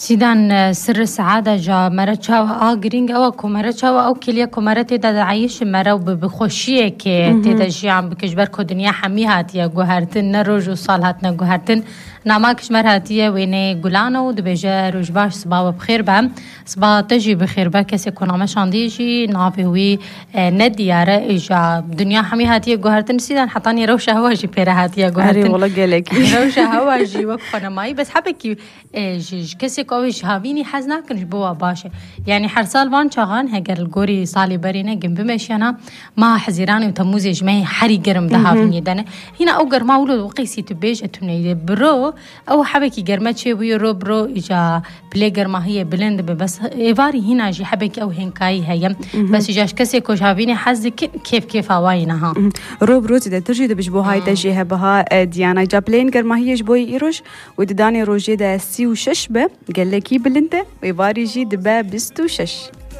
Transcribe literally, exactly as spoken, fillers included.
Sîdan, e, sirri seada ja mere çawa a girîng ew e ku mere çawa ew kêliye ku mere tê de dieyişin mere û bi, bi xweşiyekê tê de jiyan bike, ji ber ku dinya hemî hatiye guhertin, ne roj û sal hatine guhertin. Nama ki ji mer hatiye wêneyê Gulan e û dibêje, roj baş, siba we bi xêr be. Siba te jî bi xêr be, kesê ku name şandiye jî navê wî, e, ne diyar e, îja dinya hemî hatiye guhertin. Sîdan, hetanî rewşa hewa jî pê re hatiye guhertin. Erê, wala gelekî. Rewşa hewa jî wek xwe nemayî, bes hebekî E, ji, ji kesê ku ew ê ji havînî hez nakin, ji bo wa baş e. Yanî her sal van çaxan, heger li gorî salê berê ne, gin bimeşiyana, meha Hezîranê û Temûzê ji me herî germ di havînê de ne. Hîna ew germa wilo qeysî tu bêje tune ye. Biro, ew hebekî germe çêbûye, ro biro, îca pilê germahiyê bilind dibe. Bes êvarî hîna jî hebekî ew hênkayî heye. Bes îca ji kesê ku ji havînê hez dikin, kêf kêfa wa yî niha. Ro biro zêdetir jî dibe ji bo hay de jê hebe ha, e, Diyana. Îca pileyên germahiyê ji bo yê îroj û di danê rojê de sî û şeş be, gelekî bilind e, êvarî jî dibe bîst û şeş.